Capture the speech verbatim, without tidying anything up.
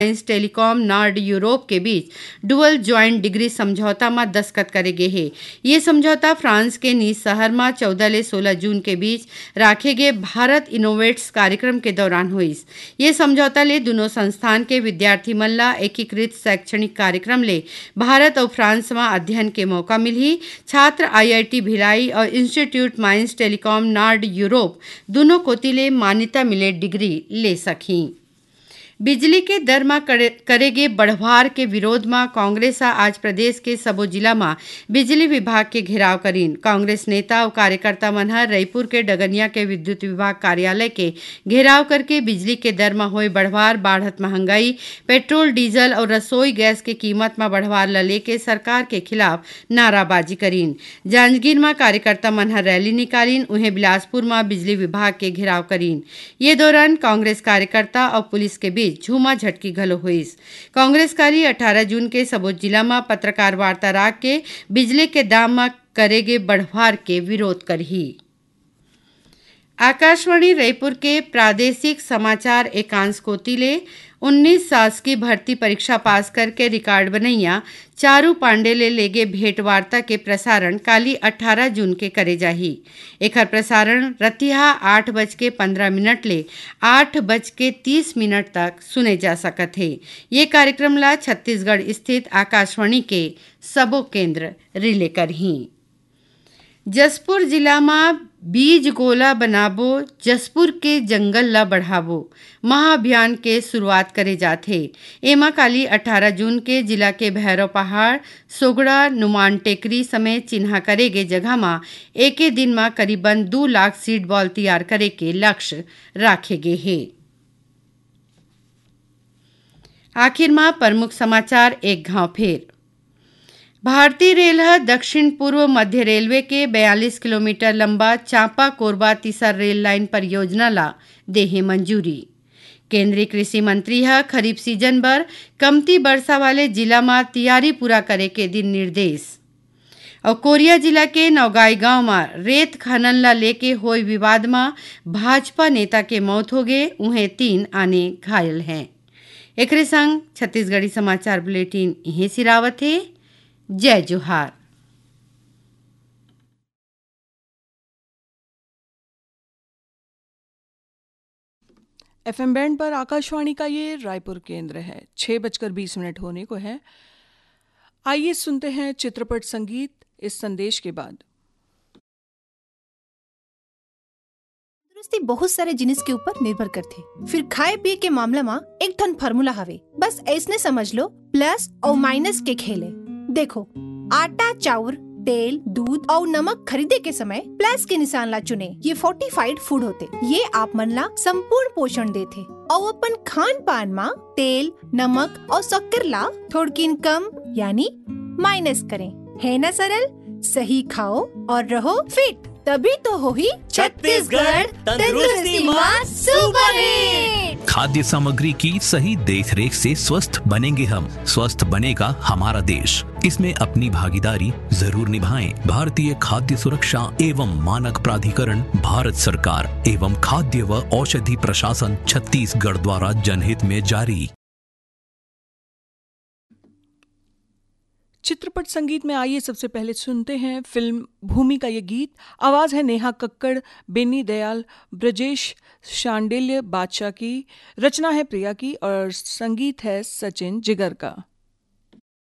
Mines telecom नार्ड Europe के बीच dual joint degree समझौता म दस्तखत करे गे हे। ये समझौता फ्रांस के नीस शहर म चौदह ले सोलह जून के बीच राखे गे भारत इनोवेट्स कार्यक्रम के दौरान होइस। ये समझौता ले दुनों संस्थान के विद्यार्थी मन ला एकीकृत शैक्षणिक कार्यक्रम ले भारत अउ फ्रांस म अध्ययन के मौका मिलही। छात्र आईआईटी भिलाई अउ इंस्टीट्यूट माइंस टेलीकॉम नार्ड यूरोप दुनों कोति ले मान्यता मिले डिग्री ले सकही। बिजली के दर म करे, करे गे बढ़वार के विरोध म कांग्रेस ह आज प्रदेश के सबो जिला म बिजली विभाग के घेराव करीन। कांग्रेस नेता अउ कार्यकर्ता मन ह रईपुर के डगनिया के विद्युत विभाग कार्यालय के घेराव करके बिजली के दर म होए बढ़वार, बाढ़त महंगाई, पेट्रोल, डीजल अउ रसोई गैस के कीमत म बढ़वार ल लेके सरकार के खिलाफ नाराबाजी करीन। जांजगीर म कार्यकर्ता मन ह रैली निकालिन, उहें बिलासपुर म बिजली विभाग के घेराव करीन। ये दौरान कांग्रेस कार्यकर्ता अउ पुलिस के बीच झूमा झटकी घलो होइस। कांग्रेस काली अठारह जून के सबो जिला म पत्रकार वार्ता राख के बिजली के दाम म करे गे बढ़वार के विरोध करही। आकाशवाणी रईपुर के प्रादेशिक समाचार एकांश कोति ले उन्नीस शासकीय भर्ती परीक्षा पास करके रिकॉर्ड बनैया चारू पांडे ले लेगे भेंट वार्ता के प्रसारण काली अठारह जून के करे जाही। एखर प्रसारण रतिहा आठ बज के पन्द्रह मिनट ले आठ बज के तीस मिनट तक सुने जा सकत हे। ये कार्यक्रम ला छत्तीसगढ़ स्थित आकाशवाणी के सबो केंद्र रिले करही। जशपुर जिला म बीज गोला बनाबो, जशपुर के जंगल ल बढ़ाबो महाअभियान के शुरुआत करे जात हे। एमा काली अठारह जून के जिला के भैरव पहाड़, सोगड़ा, नुमान टेकरी समेत चिन्हा करे गे जगह म एके दिन म करीबन दू लाख सीड बॉल तैयार करे के लक्ष्य राखे गे हे। आखिर म प्रमुख समाचार एक घाव फेर। भारतीय रेल ह दक्षिण पूर्व मध्य रेलवे के बयालीस किलोमीटर लंबा चांपा कोरबा तीसर रेल लाइन परियोजना ला देहे मंजूरी। केंद्रीय कृषि मंत्री ह खरीफ सीजन बर कमती बरसा वाले जिला म तियारी पूरा करे के दिन निर्देश। अउ कोरिया जिला के नौगाई गांव म रेत खनन ला लेके होय विवाद म भाजपा नेता के मौत होगे, उहें तीन आने घायल हें। एकरे संग छत्तीसगढ़ी समाचार बुलेटिन इहें सिरावत हे। जय जोहार। एफएम बैंड पर आकाशवाणी का ये रायपुर केंद्र है। छह बजकर बीस मिनट होने को है। आइए सुनते हैं चित्रपट संगीत इस संदेश के बाद। तंदुरुस्ती बहुत सारे जिनिस के ऊपर निर्भर करथे। फिर खाए पिए के मामला म एक ठन फार्मूला हवे, बस ऐसने समझ लो, प्लस अउ माइनस के खेल हे। देखो, आटा, चाउर, तेल, दूध अउ नमक खरीदे के समय प्लस के निशान ला चुने, ये फोर्टिफाइड फूड होथे। ये आप मन ला संपूर्ण पोषण देथे अउ अपन खान पान म तेल, नमक अउ शक्कर ला थोड़किन कम यानी माइनस करें, है ना सरल? सही खाओ और रहो फिट, तभी तो होही छत्तीसगढ़ तंदुरुस्ती मा सुपरहिट। खाद्य सामग्री की सही देखरेख से स्वस्थ बनेंगे हम, स्वस्थ बनेगा हमारा देश। इसमें अपनी भागीदारी जरूर निभाएं। भारतीय खाद्य सुरक्षा एवं मानक प्राधिकरण, भारत सरकार एवं खाद्य व औषधि प्रशासन छत्तीसगढ़ द्वारा जनहित में जारी। चित्रपट संगीत में आइए सबसे पहले सुनते हैं फिल्म भूमि का ये गीत। आवाज़ है नेहा कक्कड़, बेनी दयाल, ब्रजेश शांडिल्य बादशाह की। रचना है प्रिया की और संगीत है सचिन जिगर का।